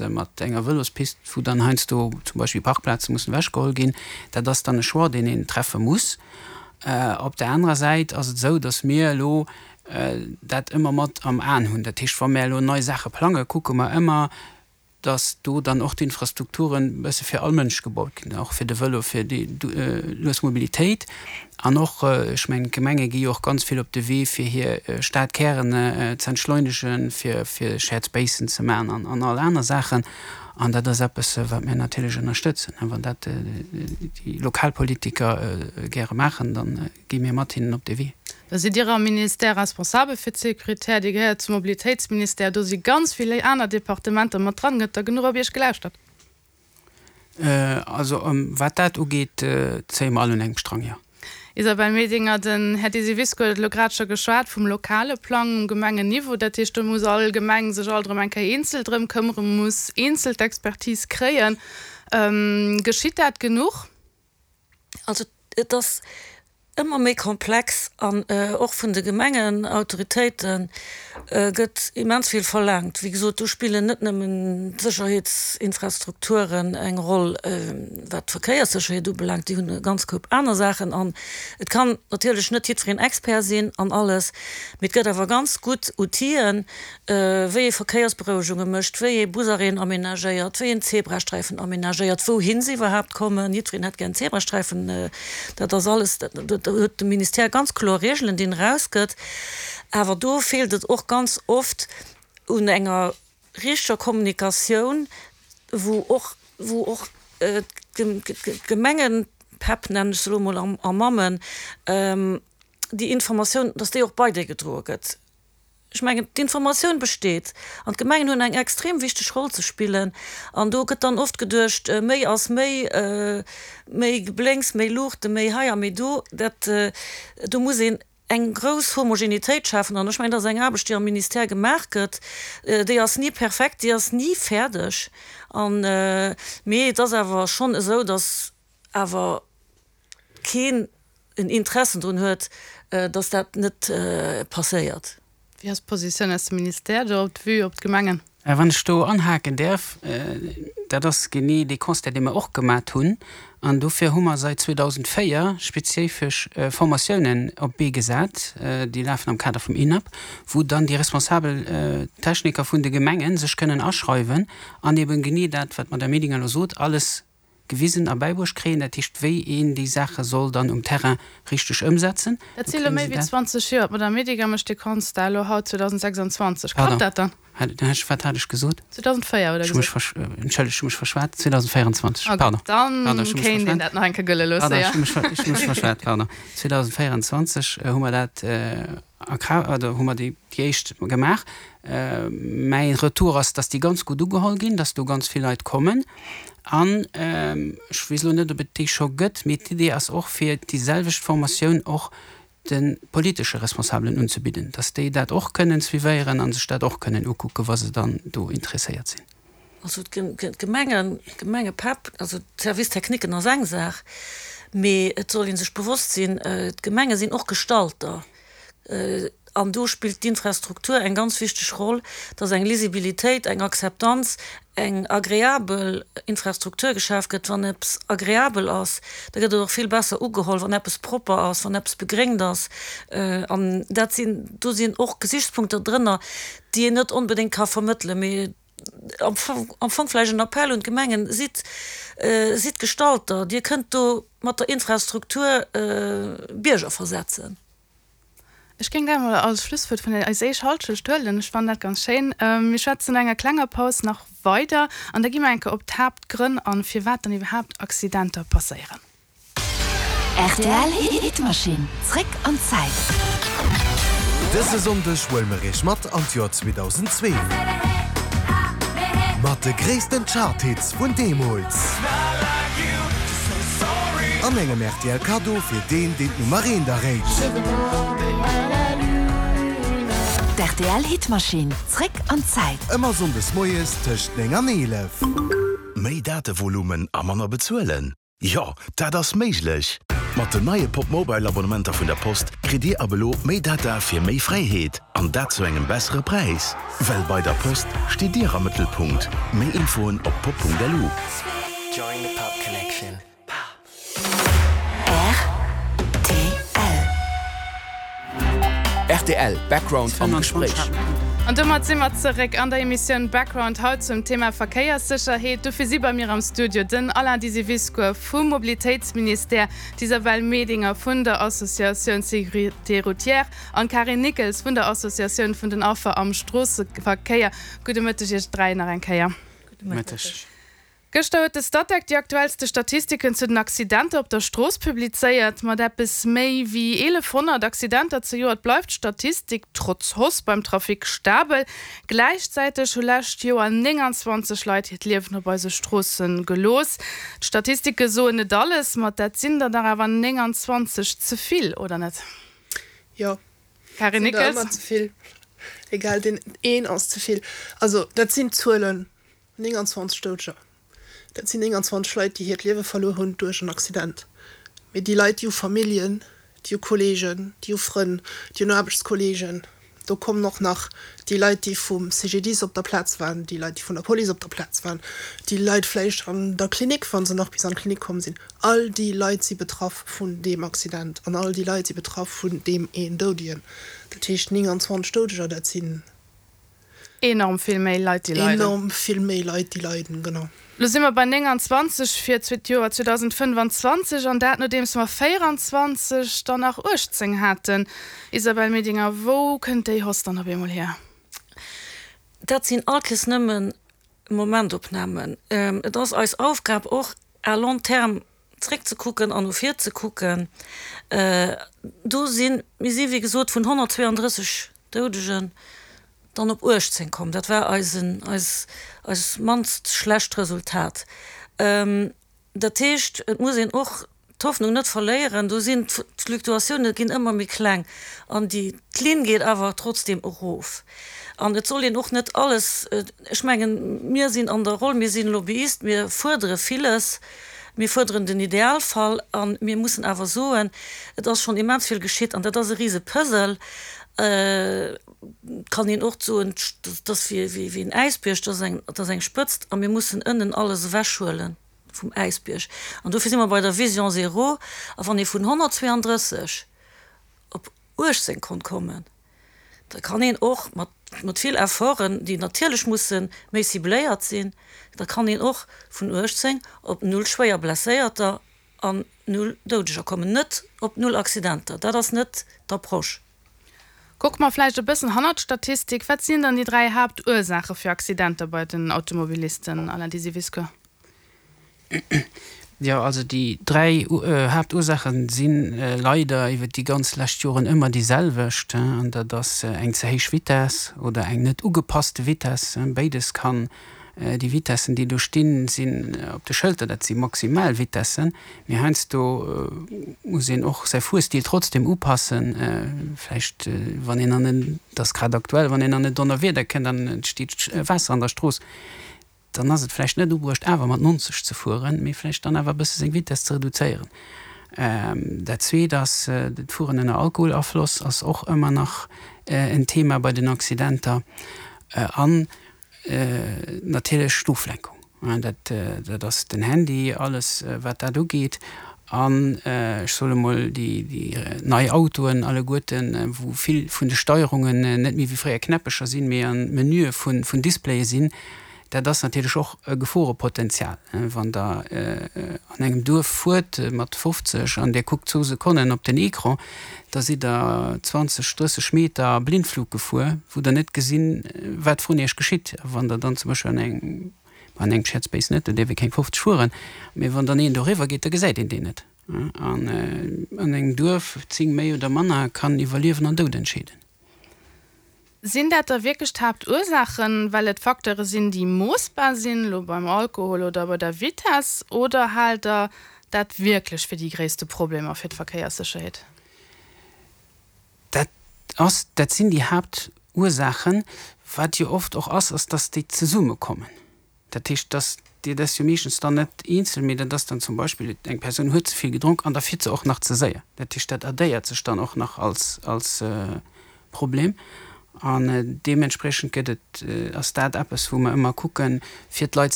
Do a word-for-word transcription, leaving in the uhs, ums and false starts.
ass mat enger Vëlospist, wou dann heiansdo zum Beispill Parkplaze mussen ewechgeholl ginn. Dat ass dann e Choix, deen een treffe muss. Op där anerer Säit ass et esou, datt mir elo dat ëmmer mat am Aen hunn. Dat heescht, wa mir elo nei Saache plangen, kucke mer ëmmer, datt do dann och d'Infrastrukturen e bësse fir all Mënsch gebaut ginn, och fir de Vëlo, fir déi lues Mobilitéit. An och, ech mengen, d'Gemenge gi jo och ganz vill op de Wee, fir hir Stadkären ze entschleunegen, fir Shared Spacen ze maachen an all aner Saachen. An dat ass eppes, wat mir natierlech ënnerstëtzen. Wann dat déi Lokalpolitiker gäre maachen, da gi mir mat hinnen op dee Wee. Da sidd Dir am Ministère responsabel fir d'Sécurité, Dir gehéiert zum Mobilitéitsministère, do si ganz vill aner Departementer mat dran. Gëtt da genuch op Iech gelauschtert? Also wat dat ugeet, zéie mer all un engem Strang, jo. Isabelle Medinger, Den Här Desivisco huet elo grad scho geschwat vum lokale Plang um Gemengenniveau. Dat heescht, do muss all Gemeng sech alt erëm eng Kéier eenzel drëm këmmeren, muss eenzel d'Expertise kréien. Geschitt dat genuch? Also et ass ëmmer méi komplex an och vun de Gemengenautoritéite gëtt immens vill verlaangt. Wéi gesot, do spillen net nëmmen d'Sécherheetsinfrastrukturen eng Roll, wat d'Verkéierssécherheet ubelaangt, déi hunn e ganz Koup aner Saachen. An et kann natierlech net jiddwereen Expert sinn an alles, mee et gëtt awer ganz gutt Outiller, wéi ee Verkéiersberouegunge mécht, wéi ee Busarrêten amenagéiert, wéi een Zebrasträifen amenagéiert, wouhin se iwwerhaapt kommen. Jiddwereen hätt gär en Zebrasträifen. Dat ass alles, do huet de Ministère ganz kloer Reegelen, déi en erausgëtt. Awer do feelt et och ganz oft un enger richteger Kommunikatioun, wou och, wou och d'Gemengepäpp, nennen ech se elo emol, a Mammen, déi Informatioun, dass déi och bei déi gedroe gëtt. Ech mengen, d'Informatioun besteet an d'Gemengen hunn eng extrem wichteg Roll ze spillen. An do gëtt dann oft geduecht, méi ass méi, méi Geblénks, méi Luuchte, méi hei a méi do. Dat, do muss een eng grouss Homogenitéit schafen. An ech mengen, dat ass eng Aarbecht, déi am Ministère gemaach gëtt. Déi ass ni perfekt, déi ass ni fäerdeg. An, mee et ass awer schonn esou, datt awer keen en Interessen drun huet, datt dat net passéiert. Wéi ass d'Positioun aus dem Ministère do op d'Vue op d'Gemengen? Wann ech do anhaken däerf, dat ass genee dee Constat, dee mer och gemat hunn. An dofir hu mer säit zweedausendvéier spezifesch Formatiounen op d'Bee gesat, déi lafen am Kader vum INAP, wou dann déi responsabel Techniker vun de Gemenge sech kënnen aschreiwen an eben genee dat, wat d'Madame Medinger elo sot, alles gewisen a bäibruecht kréien, dat heescht wéi een déi Saache soll dann um Terrain richteg ëmsetzen. Dat si elo méi wéi zwanzeg Joer. D'Madame Medinger mécht dee Constat elo haut zweedausendsechsundzwanzeg. Klappt dat dann? Pardon, wat hat ech gesot? zweedausendvéier huet Der gesot. Entschëllegt, ech hu mech verschwat. zweedausendvéierundzwanzeg, pardon. Dann kéint een dat nach eng Kéier gëlle loosse, jo. Pardon, ech hu mech verschwat, pardon. zweedausendvéierundzwanzeg hu mer dat a Kraaft, oder hu mer déi éischt gemaach. Mäi Retour ass, dass déi ganz gutt ugeholl ginn, dass do ganz vill Leit kommen. An ech weess elo net, ob et déi scho gëtt, mee d'Idee ass och, fir déi selwecht Formatioun och de politesche Responsabelen unzebidden, dass déi dat och kënnen suivéieren a sech dat och kënnen ukucken, wa se dann do interesséiert sinn. Also d'Gemengen, d'Gemengepäpp, also d'Service-techniquen ass eng Saach, mee et soll ee sech bewosst sinn, d'Gemenge sinn och Gestalter. An do spillt d'Infrastruktur eng ganz wichteg Roll, dass eng Lisibilitéit, eng Akzeptanz, eng agreabel Infrastruktur geschaf gëtt. Wann eppes agreabel ass, da gëtt et och vill besser ugeholl, wann eppes propper ass, wann eppes begréngt ass. An dat sinn, do sinn och Gesichtspunkter drënner, déi een net onbedéngt ka vermëttelen. Mee am Fong vläicht en Appell un d'Gemengen, Sidd, sidd Gestalter, Dir kënnt do mat der Infrastruktur Bierger versetzen. Ech géing dat emol als Schlusswuert vun eis éischt Halschecht huelen. Ech fannen dat ganz schéin. Mir schwätzen no enger klenger Paus nach weider an da gi mer eng Kéier op d'Haaptgrënn an, firwat dann iwwerhaapt Accidenter passéieren. Rtl Hitmaschinn, zréck an d'Zäit. Dëse Sonndeg huele mer iech mat an d'Joer zweedausendzwee. Mat de gréissten Chart-Hits vun deemools. An engem R T L Kaddo fir deen, deen d'Nummer eent erréit. D' R T L Hitmaschinn, zréck an d'Zäit. Ëmmer Sonndes moies tëscht néng an eelef. Méi Datevolumen a manner bezuelen? Jo, dat ass méiglech! Mat den neie Pop Mobile Abonnementer vun der Post kritt Dir ab elo méi Data fir méi Fräiheet, an dat zu engem bessere Präis. Well bei der Post steet Dir am Mëttelpunkt. Méi Infoen op pop Punkt L U. Join the Pop Connection. R T L. R T L Background am Gespréich. An domat si mer zeréck an der Emissioun Background, haut zum Thema Verkéierssécherheet. Dofir si bei mir am Studio den Alain Disiviscour vum Mobilitéitsministère, d'Isabelle Medinger vun der Associatioun Sécurité Routière an d'Carine Nickels vun der Associatioun vun den Affer am Stroosseverkéier. Gudde Mëtteg iech dräi nach eng Kéier. Gudde Mëtteg. Gëschter huet de Statec déi aktuellste Statistiken zu den Accidenter op der Strooss publizéiert. Mat eppes méi wéi eelefhonnert Accidenter zejoert bleift d'Statistik trotz Hausse beim Trafic stabel. Gläichzäiteg hu lescht Joer nénganzwanzeg Leit hiert Liewen op eise Stroosse gelooss. D'Statistike soen net alles, ma dat sinn der dach awer nénganzwanzeg ze vill, oder net? Jo. Karin Sinn der Nickels? ëmmer ze vill. Egal, deen een ass ze vill. Also dat sinn Zuelen, nénganzwanzeg Doudeger. Dat sinn nénganzwanzeg Leit, déi hiert Liewe verluer hunn duerch en Accident. Mee déi Leit, déi hu Familljen, déi hu Kolleegen, déi hu Frënn, déi hunn Aarbechtskolleegen. Do kommen och nach déi Leit, déi vum C G D I S op der Plaz waren, déi Leit, déi vun der Police op der Plaz waren, déi Leit vläicht an der Klinik, wa se nach bis an d'Klinik komm sinn. All déi Leit si betraff vun deem Accident an all déi Leit si betraff vun deem een Doudegen. Dat heescht, nénganzwanzeg Doudeger, dat sinn Enorm vill méi Leit, déi leiden. Enorm vill méi Leit, déi leiden, genau. Lo si mer bei nénganzwanzeg fir d'Joer zweedausendfënnfanzwanzeg, an dat nodeems mer véieranzwanzeg, dann nach uechtzéng haten. Isabelle Medinger, wou kënnt déi Hausse dann op eemol hier? Dat sinn all Kees nëmmen Momentopnamen. Et ass eis Aufgab och à long terme zréckzekucken an no vir ze kucken. Do sinn, mir si wéi gesot vun honnertzweeandrësseg Doudegen dann op uechtzéng komm. Dat war eisen, eis, eis mannst schlecht Resultat. Dat heescht, et muss een och d'Hoffnung net verléieren, do sinn d'Fluktuatioune ginn ëmmer méi kleng an déi d'Linn geet awer trotzdeem erof. An et soll een och net alles, ech mengen, mir sinn an der Roll, mir sinn Lobbyist, mir fuerdere villes, mir fuerderen den Idealfall a mir mussen awer soen, et ass schonn immens vill geschitt an dat ass e rise Puzzle. Et kann een och soen, dat ass wéi en Äisbierg, dat ass eng, dat ass eng Spëtzt a mir mussen ënnen alles ewechhuele vum Äisbierg. An dofir si mer bei der Vision zéro. A wann ee vun honnertzweeandrësseg op uechtzéng konnt kommen, da kann een och mat, mat vill Efforten, déi natierlech musse méi cibléiert sinn, da kann een och vun uechtzéng op null schwéier Blesséierter an null Doudeger kommen. Net op null Accidenter, dat ass net d'Approche. Kucke mer vläicht e bëssen hannert d'Statistik. Wat sinn dann déi dräi Haaptursaache fir Accidenter bei den Automobilisten, Alain Disiviscour? Jo, also déi dräi Haaptursaache si leider iwwer déi ganz lescht Joren ëmmer déi selwecht, an dat ass eng ze héich Vitess oder eng net ugepasste Vitess. Béides kann, déi Vitessen, déi do stinn, sinn op de Schëlter, dat si Maximalvitessen, mee heiansdo muss een och säi Fuerstil trotzdem upassen. Vläicht wann een an en, dat ass grad aktuell, wann een an en Donnerwieder kënnt an et steet Waasser an der Strooss, dann ass et vläicht net ubruecht awer mat nonzeg ze fueren, mee vläicht dann awer e bësse seng Vitess ze reduzéieren. Dat Zweet ass, d'Fueren ënner Alkoholafloss ass och ëmmer nach en Thema bei den Accidenter. An natierlech d'Oflenkung, dat dat ass den Handy, alles wat dat ugeet. An ech soe mol déi déi nei Autoen alleguerten, wou vill vun de Steierungen net méi wéi fréier Knäppecher sinn, mee an Menüe vun vun Displaye sinn, dat ass natierlech och e Geforepotenzial. Wann Der an engem Duerf fuert mat fofzeg an Dir kuckt zwou Sekonnen op den Ecran, da sidd Der zwanzeg, drësseg Meter Blindflug gefuer, wou Der net gesinn, wat vrun Iech geschitt. A wann Der dann zum Beispill an engem, an engem Shared Space net, do dierf ee keng fofzeg fueren, mee wann dann een doriwwer geet, da gesäit een deen net. An an engem Duerf, zéng méi oder manner, kann iwwer Liewen an Doud entscheeden. Sinn dat da wierklech d'Haaptursaachen, well et Facteure sinn, déi moossbar sinn, elo beim Alkohol oder bei der Vitess, oder haalt Der dat wierklech fir déi gréisste Problemer fir d'Verkéierssécherheet? Dat ass, dat sinn déi Haaptursaachen. Wat jo oft och ass, ass, dass déi zesummekommen. Dat heescht, dass dat ass jo meeschtens dann net eenzel, mee dat ass dann zum Beispill, eng Persoun huet ze vill gedronk an da fiert se och nach ze séier. Dat heescht, dat addéiert sech dann och nach als, als Problem. An deementspriechend gëtt et, ass dat eppes, wou mer ëmmer kucken, fir d'Leit